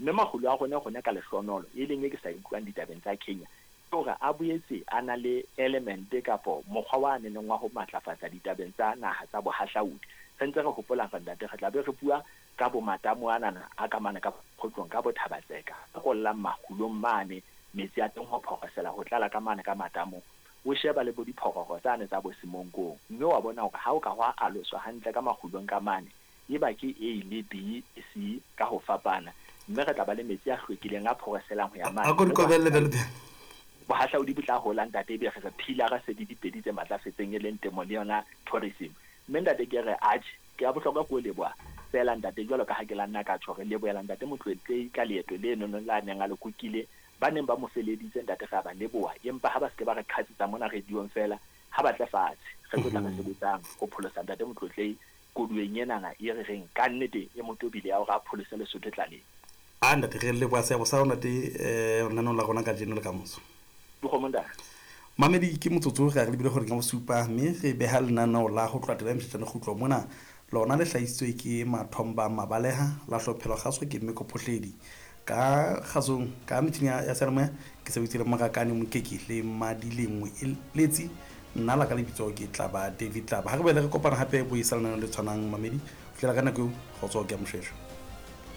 Mme makgulo a rona rona ka lehlohonolo, e leng e ke sa e utlwang ditabeng tsa Kenya, ke hore a boetse a na le element kapo mokgwa wa neneng wa ho matlafatsa ditabeng tsa naha tsa bohahlaudi. Re ntse re hopola hore ntate re tla be re bua ka bo matamo anana a ka mane ka Kgotlong ka bo Thabatseka a kollang makgulong mane metsi a teng ho phorosela ho tlala ka mane ka matamong. O sheba le bo diphororo tsane tsa bo Semonkong mme wa bona hore ha o ka hwa aloswa hantle ka makgulong ka mane eba ke A le B le C ka ho fapana mme re tla ba le metsi a hlwekileng a phoroselang ho ya mane. A ko di kobelle bjalo bjalo. Bohahlaudi bo tla hola ntate ebe re re philara se di dipedi tse matlafetseng e leng temo le yona tourism. Mme ntate ke re atjhe ke ya bohlokwa ke o leboha feela ntate jwalo ka ha ke la nna ka tjho re lebohela ntate Motloetlehi ka leeto lenono la neng a le kukile ba neng ba mo feleditse ntate re a ba leboha empa ha ba se ke ba re qhatsetsa mona radiong feela ha ba tle fatshe re tlo tla re sebetsang ho pholosa ntate Motloetlehi koduweng enana e re reng ka nnete e mo tobile ya hore a pholose Lesotho tlaleng. A ntate re leboha seabo sa hao ntate lenaneong la rona kajeno le kamoso. Dikgomo ntate. Mamedi ke motsotso re ya re lebile horeng ya bosupa mme re beha lenaneo la ho tloha taba ya Mshetjane Kgutlo mona. Lona le hlahisitswe ke Mathomba Mabaleha, la hlophelwa kgaso ke Mmeko Phohledi. Ka kgasong ka metjhini ya seyalemoya ke sebeditse le Morakane Mokeke le Madilengwe Eletsi. Nna la ka lebitso ke Tlaba David Tlaba. Ha re boele re kopana hape bo isa lenaneo le tshwanang mamedi. Ho fihlela ka nako eo, kgotso ke ya Moshweshwe.